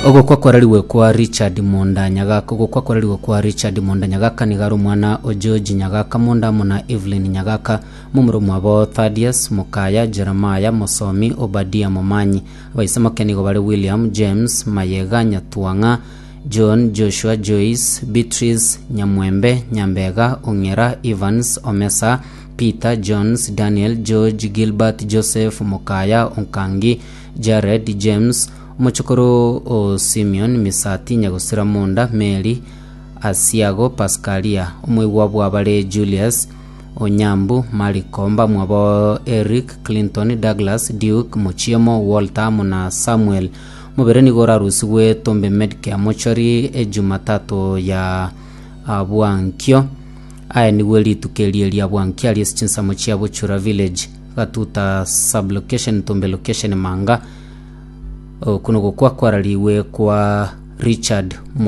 Ogokwa kwararigwe kwa Richard Monda Nyagaka Ogokwa kwararigwe kwa Richard Monda Nyagaka nigo are omwana o George Nyagaka Monda amo na Evelyn Nyagaka, momura omwabo Thaddeus, Mokaya, Jeremiah, Mosomi, Obadia Momanyi. Abaise moke nigo bare William, James, Mayega, Nyatwang'a, John, Joshua, Joyce, Beatrice, Nyamwembe, Nyambega, Ong'era, Evans, Omesa, Peter, Jones, Daniel, George, Gilbert, Joseph, Mokaya, Onkangi, Jared, James, omochokoro o Simeon, Misati, Nyagosira Monda, Mary, Asiago, Paskalia, omoigwa bw'abare Julius, Onyambu, Mariko, mbamwabo Eric, Clinton, Douglas, Duke, Mochiemo, Walter amo na Samuel. Omobere nigo orarusigwe Tombe Medcare Mortuary Ejumatatu ya bwankio. Aye nigwe rituko erie ria bwankio aria ase chinsemo chia Bochura Village, Gatuta Sub-location, Tombe Location, Manga. Okwo nogokwa kwararigwe kwa Richard Mo.